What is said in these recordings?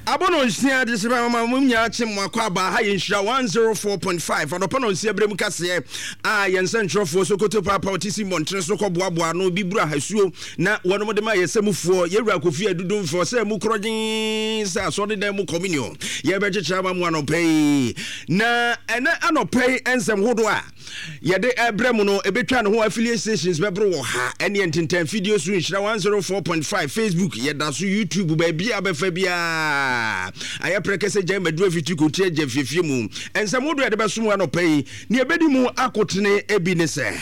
Abɔ nsia de sɛ mama mo nyinaa kye mo akɔ aba ha yɛ nhyira 104.5 anɔpa no nsia berɛ mu kaseɛ a yɛn nsɛntwerɛfoɔ Sokoto Paapa ɔte si mmɔntene so kɔboaboa ano bi buru ahasuo na wɔnom de ma yɛ sɛ mufoɔ yɛwura Kofi Adudu mfɛ sɛ mu korɔgyen sɛ asɔredan mu communion yɛbɛkyekyere ama mo anɔpa yi na ɛnɛ anɔpa yi nsɛm hodoɔ a yɛde ɛbrɛ mu no ɛbɛtwa ne ho affiliate stations bɛboro wɔ ha ɛneɛ ntentan fidie so nhyira 104.5 Facebook yɛda so YouTube baabi a bɛfa biara ayɛ prɛkɛ sɛ gyae maduru afiti kɔti agya fiefie mu nsɛm hodoɔ yɛde bɛsom anɔpa yi ne ɛbɛdi mu akotene ebi ne sɛ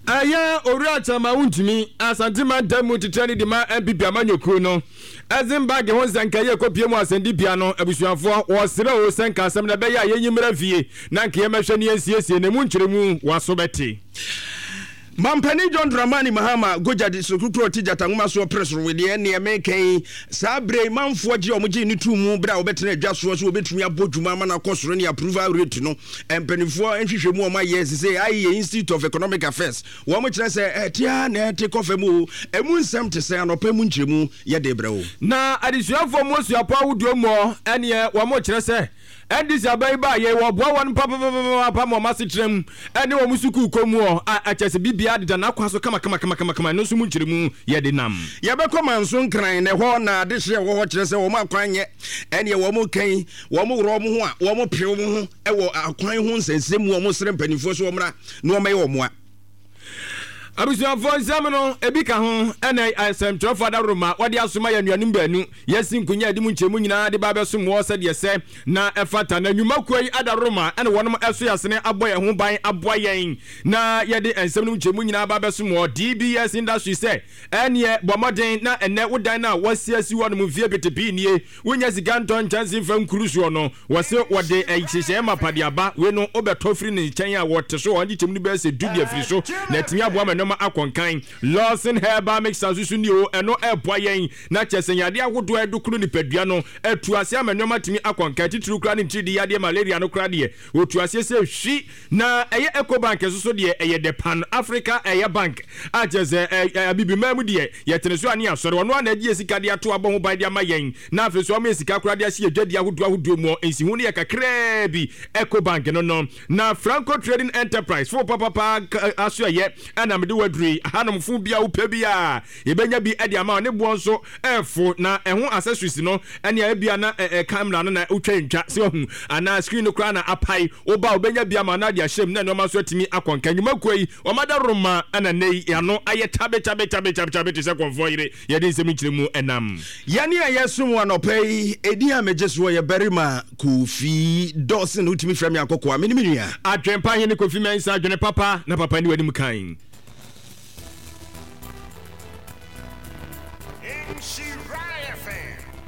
Ɛyɛ Owura Kyama Wontumi, Asante Mantam mu titenani de ma NPP amanyɔkuo no. Ɛdze bag ho nsɛnka yi ekopue mu asɛndibea no, abusuafoɔ, wɔsrɛ o sɛ nka asɛm no ɛbɛyɛ a yɛnyi mmra fie na nka yɛmmɛhwɛ na yɛnsiesie na emu nkyerɛmu w'aso bɛte. Mampanin John Dramani Mahama Gogya de soro kuro ti gyata nwoma soɔ pere soro wedeɛ neɛ meka yi saa berɛ yi manfoɔ gye wɔn gye ne tuu mu berɛ a wɔbɛtena adwa soɔ sɛ wɔbɛtumi abɔ dwuma ama no akɔ soro ne approval rate no mpanimfoɔ nhwehwɛmu wɔn ayɛ sese ayɛ Institute of Economic Affairs Wɔn kyerɛ sɛ ɛte ara na ɛte kɔ fam o, emu nsɛm te sɛn? Anɔpa mu nkyerɛmu yɛ de brɛ wo. Na adesuafoɔ mu asuapɔn ahodoɔ muɔ ɛneɛ wɔn kyerɛ sɛ NDC aban yi baa yei wɔboa wɔn papapapapa ma wɔn asetena mu ɛne wɔn sukuu kɔ muɔ a ɛkyɛ sɛ biribiara deda n'akwan so kama kama kama kama, ɛno nso mu nkyerɛmu yɛ de nam. Yɛbɛkɔ Manso Nkran na ɛhɔ na adehyeɛ ɛwɔ hɔ kyerɛ sɛ wɔn akwan nyɛ ɛneɛ wɔn kan wɔn worɔ wɔn ho a wɔn pere wɔn ho wɔ akwan ho nsɛnsɛm mu wɔn srɛ mpanimfoɔ so wɔn mmra na wɔmmɛyɛ wɔn mmoa. Abusuafoɔ nsɛm no ebi ka ho ɛna nsɛmtwerɛfoɔ adaworoma wɔde asoma yɛn anuanom baanu yɛasi nkonya a ɛde mu nkyerɛmu nyinaa de ba abɛsom wɔ sɛdeɛ sɛ na ɛfata na nnwumakuo yi adaworoma ɛna wɔnom ɛso yɛasene abɔ yɛn ho ban aboa yɛn na yɛde nsɛm no mu nkyerɛmu nyinaa ba abɛsom wɔ DBS Industry sɛ ɛneɛ bɔ mmɔden na ɛnɛ wo dan no a wɔasi asi hɔ nom mfie pete pii nie Wonya sika ntɔ nkyɛnse mfa nkuru soɔ no, wɔse wɔde nhyehyɛeɛ mapa de aba. Wei no, wobɛtɔ firi ne nkyɛn a, wɔte so a, wɔn nkyekyɛmu no bɛyɛ sɛ du de afiri so, na atumi aboa ma nneɛma akɔ nkan. Lawson Herbal Mixture nso so nie o, ɛno ɛreboa yɛn na kyerɛ sɛ yadeɛ ahodoɔ a ɛdokoro nipadua no, atu aseɛ ama nneɛma atumi akɔ nkan, titiriw koraa ne ntiridii yadeɛ, malaria no koraa deɛ, wɔtu aseɛ sɛ hwi. Na ɛyɛ Ecobank nso so deɛ, ɛyɛ the Pan Africa ɛyɛ bank a kyerɛ sɛ ɛ Abibiman mu deɛ, yɛtene so a ne yɛasɔre. Ɔno ara na agye yɛn sika de ato abɔ ho ban de ama yɛn, na afei nso wama yɛn sika koraa de ahyɛ yɛn dwadie ahodoɔ ahodoɔ mu. Nsiho no yɛ kakraa bi, Ecobank no no. Na Franco Trading Enterprise fo papapa asoɛeɛ ɛna mede wo aduru yi. Hanom fo bi a wopɛ biara, yɛbɛnya bi de ama wo. Ne boɔ nso ɛfo, na ɛho accessories no ɛnea ebia na camera no na wotwa ntwa, sɛ wahu, anaa screen no koraa na apae. Wo ba a, wobɛnya bi ama no ade ahyɛ mu na nneɛma nso atumi akɔ nka. Nnwumakuo yi, wɔn adaworoma na nnɛ yi ano ayɛ kyabe kyabe kyabe kyabe te sɛ kɔmfoɔ yere. Yɛde nsɛm nkyerɛmu nam. Yɛne a yɛsom wo anɔpa yi, edin a megye soɔ yɛ Barima Kofi Dawson. Wotumi frɛ me Akɔkoa. Me ne me nua. Adwempa Hene Kofi Mensah, adwene papa na papa nni w'anim kan. Nhyira FM.